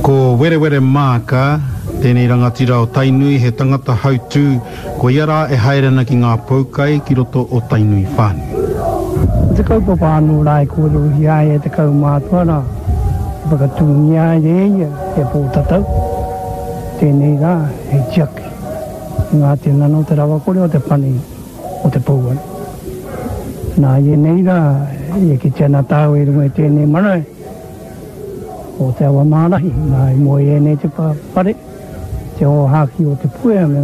Ko Werewere Maaka tēnei rangatira o Tainui, he tangata hautū, ko ia rā e haere ana ki ngā poukai ki roto o Tainui whānui. Ko te kaupapa anō rā e kōrerohia ai e te kaumātua rā, i whakatūngia ai e ia he pōtatau, tēnei rā hei tiaki i ngā tinana o te rawakore o te pani o te pouaru. Nā, i ēnei rā, e kite ana tāua i runga i tēnei marae, o Te Awamārahi, nā i moe ēnei te whare, te ōhākī o Te Puea me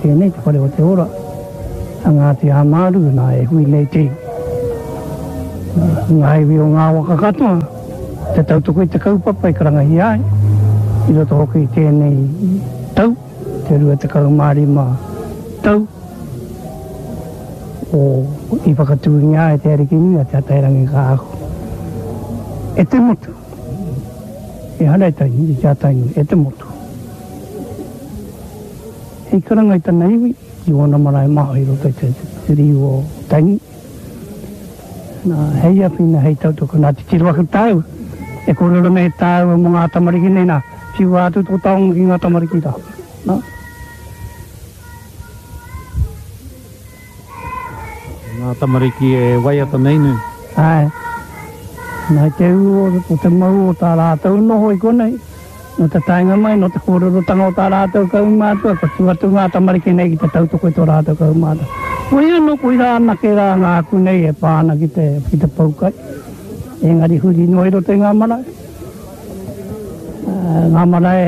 tēnei te whare o Te Ora, a Ngāti Āmāru, nā e hui nei te iwi. Ngā iwi o ngā waka katoa, te tautoko i te kaupapa i karangahia ai, i roto hoki i tēnei tau, te 25 tau o i whakatūngia ai Te Arikinui a Te Atairangikaahu e te motu. Ehara i Tainui, i Te Atainui, e te motu. Hei karanga i tana iwi ki ōna marae maha i roto i te riu o Tainui. Nā, hei awhina, hei tautoko, nā, titiro ake tāua, e kōrero nei tāua mō ngā tamariki nei, nā, whiua atu tō taonga ki ngā tamariki rā. Nā. Ngā tamariki e waiata nei nē? Āe. Nā te ū o te mau o tā rātou noho i konei, nō te taenga mai, nō te kōrerotanga o tā rātou kaumātua, kua tū atu ngā tamariki nei ki te tautoko i tō rātou kaumātua. Koia anō, koirā anake rā ngā aku nei e pā ana ki te, ki te poukai. Engari huri noa i roto i ngā marae. Ngā marae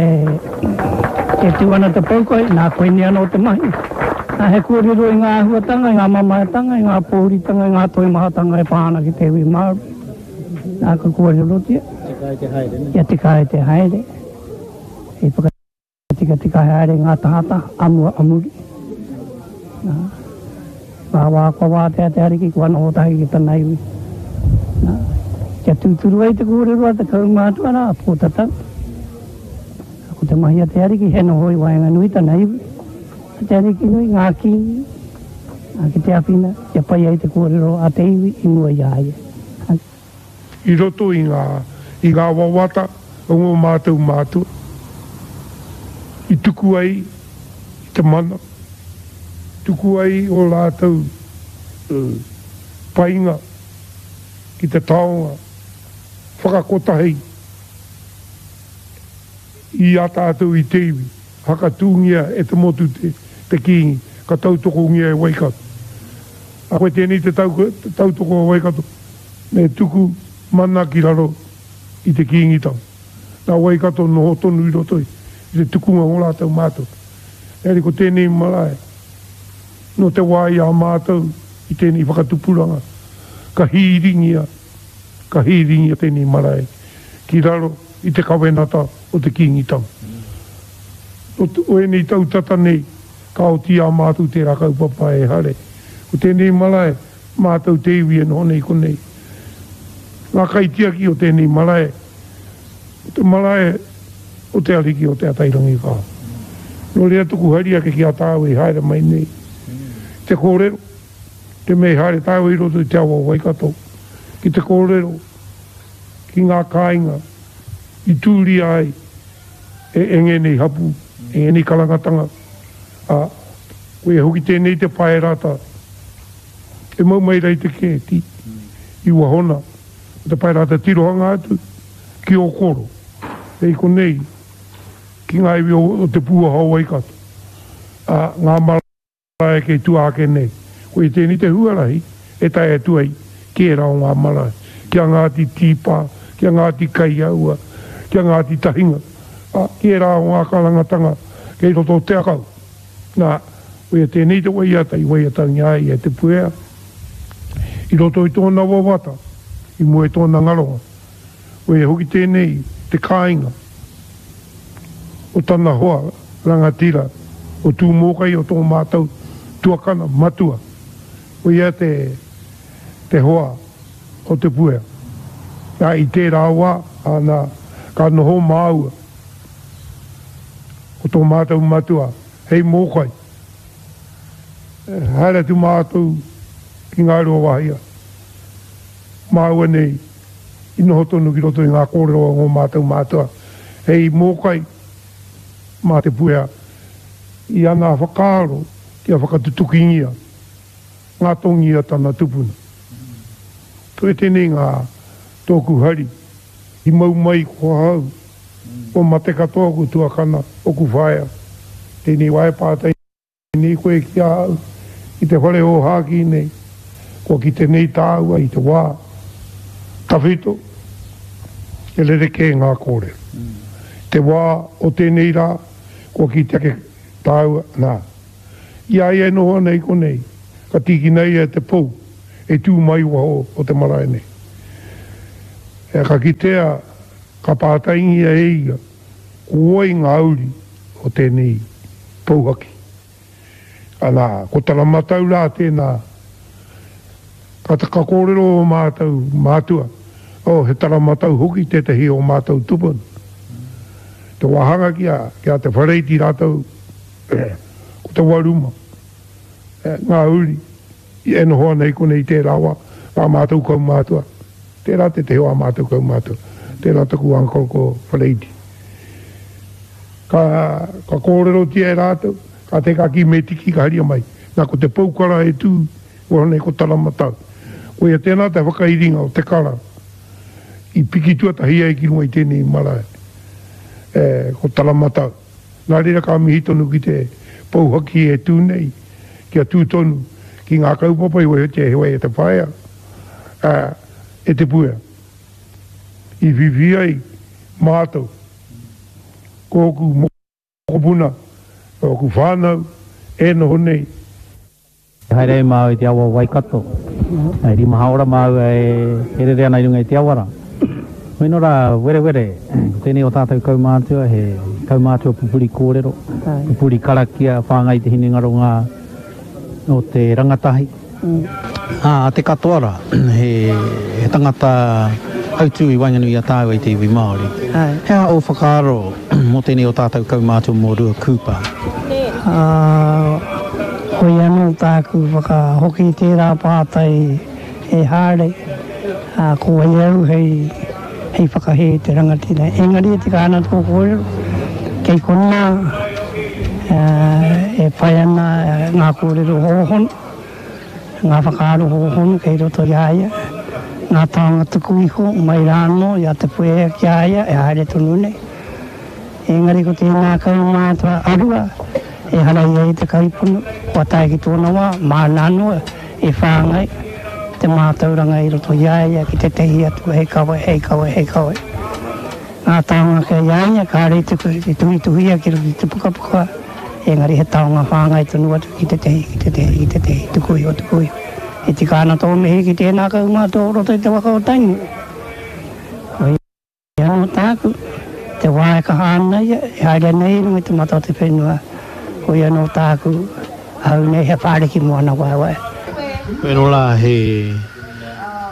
e tū ana te poukai, nā koinei anō te mahi. Nā, he kōrero i ngā āhuatanga, i ngā mamaetanga, i ngā pōuritanga, i ngā toimahatanga e pā ana ki te iwi Māori. Nā, ka kōrerotia. Tika ai te haere, nē? Kia tika ai te haere. Hei whakatikatika haere ngā tahataha, a mua, a muri. Nā, ngā wā kua wātea te Ariki, kua noho tahi ki tana iwi. Nā, kia tūturu ai te kōrero a te kaumātua rā, Pōtatau. Ko te mahi a te Ariki, he noho i waenganui tana iwi. A te Ariki nui, ngā kīngi, nā, ki te awhina, kia pai ai te kōrero a te iwi i mua i a ia. I roto i ngā, i ngā wawata o ngō mātou mātua, i tuku ai i te mana, tuku ai ō rātou painga ki te taonga whakakotahi i a tātou i te iwi, whakatūngia e te motu te Kīngi, ka tautokongia e Waikato. A koe tēnei te tautoko a Waikato me tuku mana ki raro i te Kīngitanga. Nā Waikato noho tonu i roto i te tukunga o rātou mātou. Engari ko tēnei marae, nō te wā i a mātou i tēnei whakatupuranga, ka hīringia, ka hīringia tēnei marae ki raro i te kawenata o te Kīngitanga. Nō ēnei tau tata nei, Ka oti i a mātou tērā kaupapa e Hare. Ko tēnei marae, mātou te iwi e noho nei konei. Ngā kaitiaki o tēnei marae, ko te marae o te Ariki o Te Atairangikaahu. Nō reira tuku hari ake ki a tāua i haere mai nei te kōrero, te mea i haere tāua i roto i te awa o Waikato ki te kōrero ki ngā kāinga i tūria ai e ngēnei hapū, e ngēnei karangatanga, ā, koia hoki tēnei te paerata e mau mai rā i te kēti i wahona, ko te paerata tirohanga atu ki Ōkoro, hei konei ki ngā iwi o Te Pūaha o Waikato, ā, ngā marae. Marae kei tua ake nei. Koia tēnei te huarahi e tae atu ai ki ērā o ngā marae, ki a Ngāti Tīpā, ki a Ngāti Kaiaua, ki a Ngāti Tahinga, ā, ki ērā o ngā karangatanga kei roto o Te Akau. Nā, koia tēnei te waiata i waiatangia ai e Te Puea i roto i tōna wawata i mua i tōna ngaronga. Koia hoki tēnei te kāinga o tana hoa rangatira o Tūmōkai o tō mātou tuakana matua. Koia te te hoa o Te Puea. Nā, i tērā wā, nā, ka noho māua ko tō mātou matua hei mōkai. Haere atu mātou ki Ngāruawāhia, māua nei i noho tonu ki roto i ngā kōrero a ngō mātou mātua. Hei mōkai mā Te Puea i ana whakaaro kia whakatutukingia ngā tongi a tana tupuna. Koe tēnei ngā tōku hari i mau mai ko ahau, kua mate katoa oku tuakana, oku whaea. Tēnei wā e pātai nei koe ki a au i te whare ōhākī nei, kua kite nei tāua i te wā tawhito, he rerekē ngā kōrero. Te wā o tēnei rā, kua kite ake tāua, nā, I a ia e noho ana i konei, ka tīkina ia e te pou e tū mai waho o te marae nei. Ka kitea, ka pātaingia e ia, ko wai ngā uri o tēnei pou haki. Ana, ko tana matau rā tēnā, ka, ka kōrero ō mātou mātua, oh, he tana matau hoki tētehi o mātou tupuna. Te wāhanga ki a, ki a Te Whareiti rātou, Ko te Waruma, ngā uri e noho ana i konei i tērā wā, ā mātou kaumātua, tērā tētehi o ā mātou kaumātua, tērā taku uncle ko Whareiti. Ka, ka kōrerotia e rātou, ka te ka kī me tiki ka haria mai. Nā, ko te pou kara e tū, waho nei ko Taramatau. Koia tēnā te whakairinga o te kara i piki tuatahi ai ki runga i tēnei marae, e, ko Taramatau. Nā reira ka mihi tonu ki te pou haki e tū nei, kia tū tonu ki ngā kaupapa i waihotia e Wai e te Whaea, ā, e Te Puea. I whiwhi ai mātou, ko ōku mokopuna, ōku whānau e noho nei. Haere ai māua i te awa o Waikato. E rima haora māua e rere ana i runga i te awa rā. Hoi nō rā, werewere, ko tēnei o tātou kaumātua, he kaumātua pupuri kōrero, pupuri karakia, whāngai i te hinengaro ngā o te rangatahi. Ā, te katoa rā, he tangata hautū i waenganui i a tāua i te iwi Māori. He aha ō whakaaro mō tēnei o tātou kaumātua mō Rua Cooper? Ā, hoi anō tāku whakahoki i tērā pātai e Haare, ā, ko wai au hei, hei whakahē i te rangatira. Engari e tika ana tō kōrero, kei konā, ā, e whai ana ngā kōrero hōhonu. Ngā whakaaro hōhonu kei roto i a ia, ngā taonga tuku iho mai rā anō i a Te Puea ki a ia e haere tonu nei. Engari ko tēnā kaumātua a Rua, ehara ia i te kaiponu, kua tae ki tōna wā, māna anō e whāngai te mātauranga i roto i a ia ki tētehi atu hei kawe, hei kawe, hei kawe. Ngā taonga kei a ia, kāre i tuhituhia ki roto i te pukapuka, engari he taonga whāngai tonu atu ki tētehi, ki tētehi, ki tētehi, tuku iho, tuku iho. E tika ana tō mihi ki tēnā kaumātua o roto i te waka o Tainui. Koia anō tāku, te wā e kaha ana ia, e haere ana ia i runga i te mata o te whenua, koia anō tāku, ahau nei he whāriki mō ana waewae. Wero rā he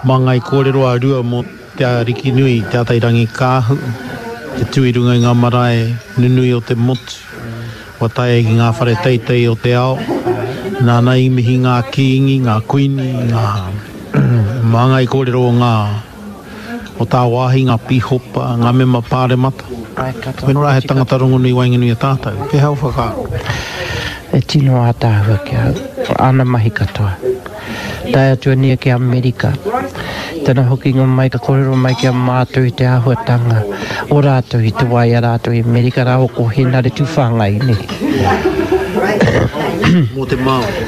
māngai kōrero a Rua mō Te Arikinui, Te Atairangikaahu, te tū i runga i ngā marae nunui o te motu, kua tae ai ki ngā whare teitei o te ao, nāna i mihi ngā kīngi, ngā kuini, ngā māngai kōrero o ngā o tāwāhi, ngā pīhopa, ngā mema pāremata. Koinā rā he tangata rongonui waenganui i a tātou. Pēhea ō whakaaro? E tino ātaahua ki ahau, āna mahi katoa. Tae atu ana ia ki Amerika. Tana hokinga mai ka kōrero mai ki a mātou i te āhuatanga o rātou i te wā i a rātou i Amerika rāua ko Henare Tūwhāngai nei. Mō te Māori.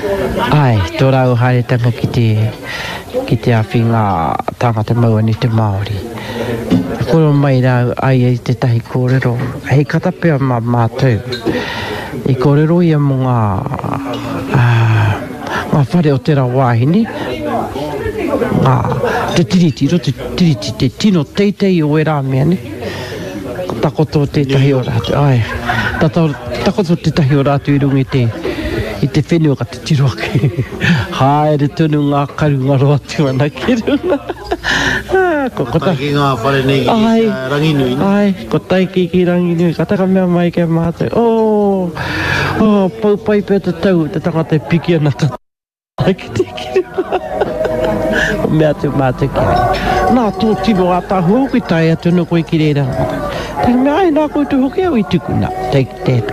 Āe, tō rāua haeretanga ki te, ki te awhi ngā tāngata mau ana i te Māori. Ka kōrero mai rāua a ia i tētahi kōrero hei kata pea mā mātou. I kōrero ia mō ngā, ā, Ngā whare o tērā wāhine, ngā, te tiriti, roto te tiriti, te tino teitei o ērā mea, ne? Ka takoto tētahi o rātou, āe, tata, takoto tētahi o rātou i runga i te, i te whenua ka titiro ake, haere tonu ngā karu ngaro atu ana ki runga. Ko, ko ta, ki ngā whare nei ki āe, Ranginui, ne? Āe, ko Taiki ki Ranginui, ka taka mea mai ki a mātou, oh, Oh, pau pai pea te tau, te tangata e piki ana ka tae ki te kirima. Mea atu mātou ki a ia. Nā, tō tino ātaahua hoki tae atu ana koe ki reira. Taku mea, ai, nā koutou hoki au i tuku. Nā, take that.